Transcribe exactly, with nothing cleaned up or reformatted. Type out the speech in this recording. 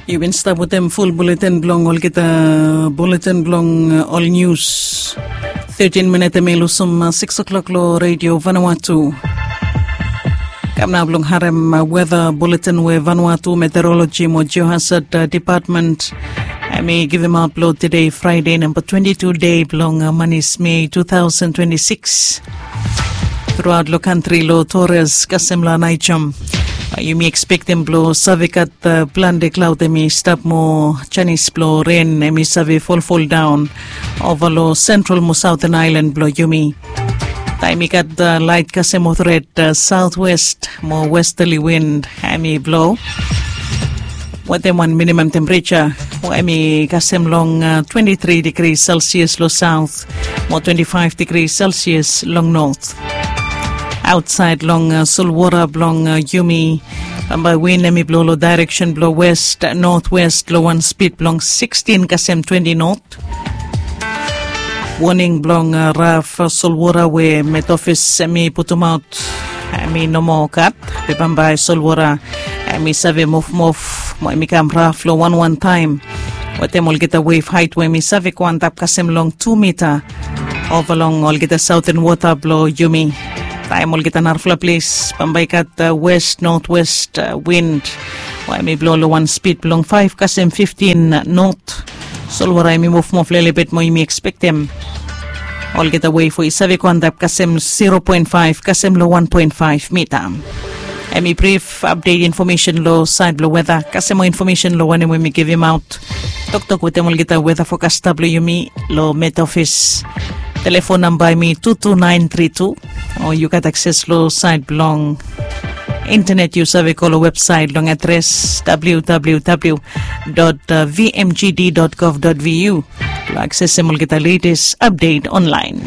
Yu bin stap wetem ful buletin blong olgeta buletin blong ol nius. Thirtin minit em i lusum sikis o'klok long redio Vanuatu. Kam nao blong harem weta buletin we Vanuatu Meteorologi mo Geohazard Depatment em i givim aut blong tude Fraide namba twenti tu dei blong manis Mei tu taosen twenti sikis. Truaot long kantri long Tores kasem long Naijom, yumi ekspektem blong save gat plante klaod em i stap mo janis blong ren em i save folfoldaon ova long sentral mo saoten aelan blong yumi. Taem i gat lait kasem mo tret, saotwest mo westali wind em i blo wetem wan minimam tempereja we em i kasem long twenti tri digri selsias long saot mo twenti faef digri selsias long not. Aotsaed long solwora blong yumi, bambae win em i blo long daereksen blong west notwest long wan spid blong sikstin kasem twenti not. Woning blong raf solwora we met ofis em i putumaot em i no moa gat. Be bambae solwora em i save mofmof mo em i kam raf long wanwan taem wetem olgeta wef haet we em i save go antap kasem long tu mita ova long olgeta saoten wota blong yumi. Taem olgeta narafala ples bambae i gat west notwest win we em i blo long wan spid blong faef kasem fiftin not. Solwara em i mofmof lelebet mo yumi ekspektem olgeta wef we i save go antap kasem zero poen faef kasem long wan poen faef mita. Em i brif apdet infomesen long saed blong weta kasem moa infomesen long wanem we mi givimaot. Toktok wetem olgeta weta fokasta blong yumi long met ofis. Telefon namba em i tu tu naen tri tu. O yu gat akses long saed blong intenet yu save go long websaet long adres www vmgd gov vu blong aksesem olgeta letes apdet onlaen.